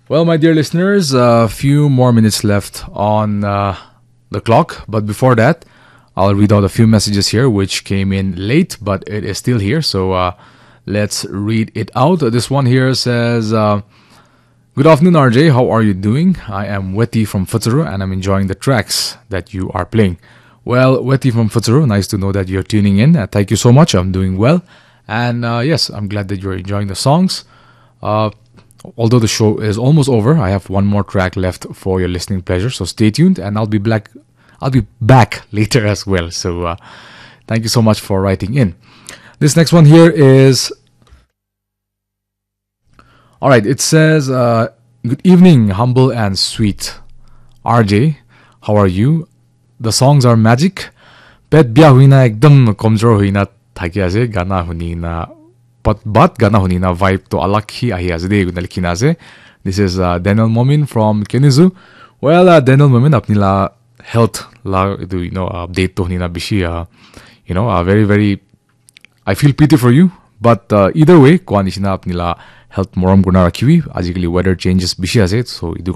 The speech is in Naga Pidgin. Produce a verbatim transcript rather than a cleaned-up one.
Well, my dear listeners, a few more minutes left on uh, the clock. But before that, I'll read out a few messages here, which came in late, but it is still here. So uh, let's read it out. This one here says, uh, "Good afternoon, R J. How are you doing? I am Weti from Futsuru, and I'm enjoying the tracks that you are playing." Well, Weti from Futsuru, nice to know that you're tuning in. Uh, thank you so much. I'm doing well. And uh, yes, I'm glad that you're enjoying the songs. Uh, although the show is almost over, I have one more track left for your listening pleasure. So stay tuned, and I'll be black. I'll be back later as well. So uh, thank you so much for writing in. This next one here is, all right. It says, uh, "Good evening, humble and sweet R J. How are you? The songs are magic. Pet bia huina ekdam komjor huina thaki ase. Gana hunina, but but gana hunina vibe to alag hi ahi ase de," koina likhina ase. This is uh, Daniel Momin from Kenizu. Well, uh, Daniel Momin, apni la health la etu, you know, update to hunina bishi, uh, you know, uh, very very, I feel pity for you. But uh, either way, koa nishina apni la health morom kurna rakhibi. Ajikali weather changes bishi ase, so etu